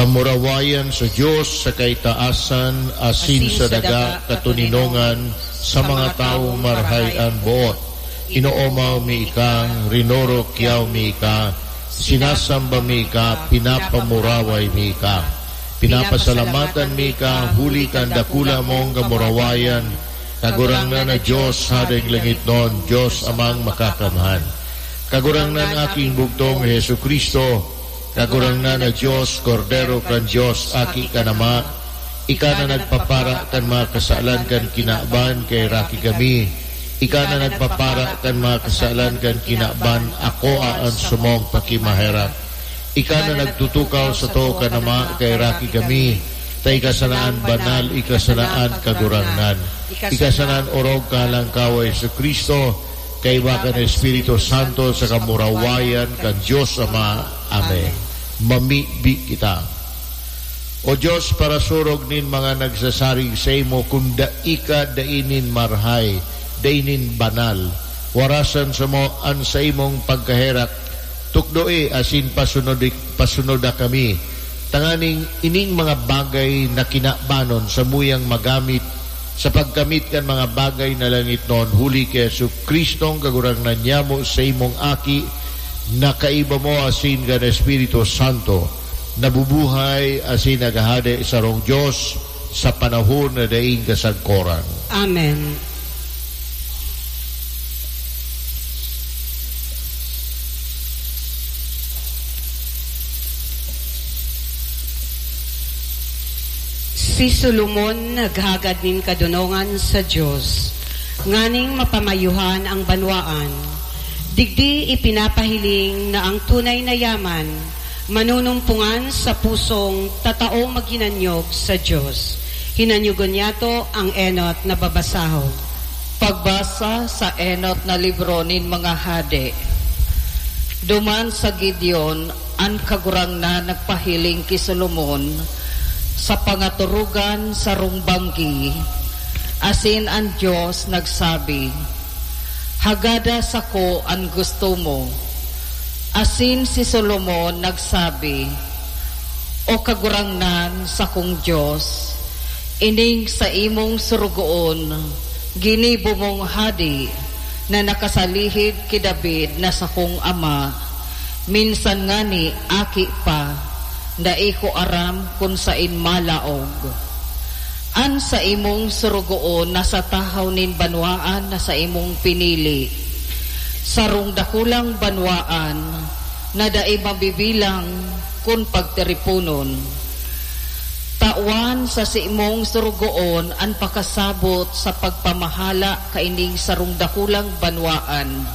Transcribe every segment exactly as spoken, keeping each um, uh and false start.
Kamurawayan sa Dios sa kaitaasan, asin sa daga katoninongan sa mga tawong marahay an boot. Inoomaw mi ika, rinorokyaw mi ika, sinasamba mi ika, pinapamuraway mi ika. Pinapasalamatan mi ika huli kan dakula mong kamurawayan, Kagurangnan na Dios, Hadeng langitnon, Dios Amang Makakamhan. Kagurangnan, Aking bugtong Jesu-Cristo, Kagurangnan na Dios, Kordero kan Dios, Aki kan Ama, ika na nagpapara kan mga kasalan kan kinaban, kaheraki kami. Ika na nagpapara kan mga kasalan kan kinaban, akoa an samong pakimaherak. Ika na nagtutukaw sato kan Ama, kaheraki kami. Ta ika sana an banal, ika sana an Kagurangnan. Ika sana an orog kan Alangkaw, Jesu-Cristo, kaiba kan Espiritu Santo, sa kamurawayan kan Dios Ama. Amen. Mamibi kita. O Dios, parasurog nin mga nagsasarig saimo, kun dai ka dai nin marahay, dai nin banal, warasan samo an saimong pagkaherak, tukdoe asin pasunodi-, pasunoda kami, tanganing ining mga bagay na kinabanon samuyang magamit sa pagkamit kan mga bagay na langitnon, huli ki Jesu-Cristong Kagurangnan nyamo, saimong Aki, na kaiba mo asin kan Espiritu Santo, nabubuhay asin naghahade sarong Dios sa panahon na daing kasagkoran. Amen. Si Solomon naghagad nin kadonongan sa Dios, nganing mapamayuhan ang banwaan. Digdi ipinapahiling na ang tunay na yaman manunumpungan sa pusong tatao maghinanyog sa Dios. Hinanyogon niyato ang enot na babasahon. Pagbasa sa enot na libro nin mga hade. Duman sa Gideon, an Kagurangnan nagpahiling ki Solomon sa pangaturugan sarong banggi, asin an Dios nagsabi, "Hagada sako an gusto mo." Asin si Solomon nagsabi, "O Kagurangnan, sakong Dios, ining saimong sorogoon ginibo mong hade na nakasalihid ki David na sakong ama, minsan ngani aki pa, dai ko aram kun saen malaog. An saimong sorogoon nasa tahaw nin banwaan na saimong pinili, sarong dakulang banwaan na dai mabibilang kun pagtiriponon. Tawan sa saimong sorogoon an pakasabot sa pagpamahala kaining sarong dakulang banwaan,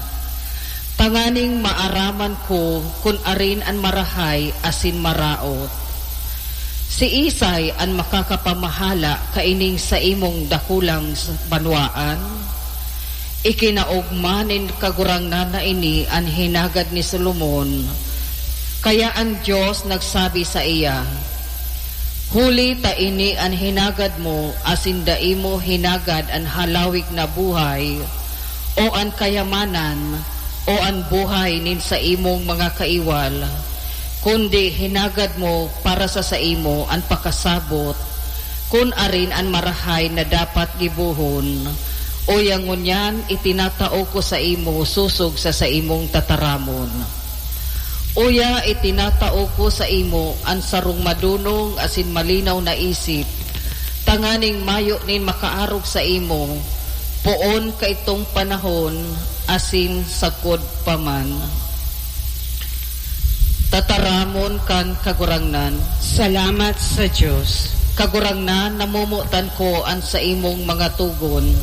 tanganing maaraman ko kun arin an marahay asin maraot. Siisay an makakapamahala kaining saimong dakulang s-, banwaan?" Ikinaogma nin Kagurangnan na ini an hinagad ni Solomon. Kaya an Dios nagsabi saiya, "Huli ta ini an hinagad mo, asin dai mo hinagad an halawig na buhay, o an kayamanan, o an buhay nin saimong mga kaiwal, kundi hinagad mo para sa saimo an pakasabot, kun arin an marahay na dapat gibohon. Uya ngunyan itinatao ko saimo sosog sa saimong tataramon. Uya itinatao ko saimo an sarong madonong asin malinaw na isip, tanganing mayo nin makaarog saimo, poon kaitong panahon asin sagkod pa man." Tataramon kan Kagurangnan. Salamat sa Dios. Kagurangnan, namomotan ko an saimong mga togon.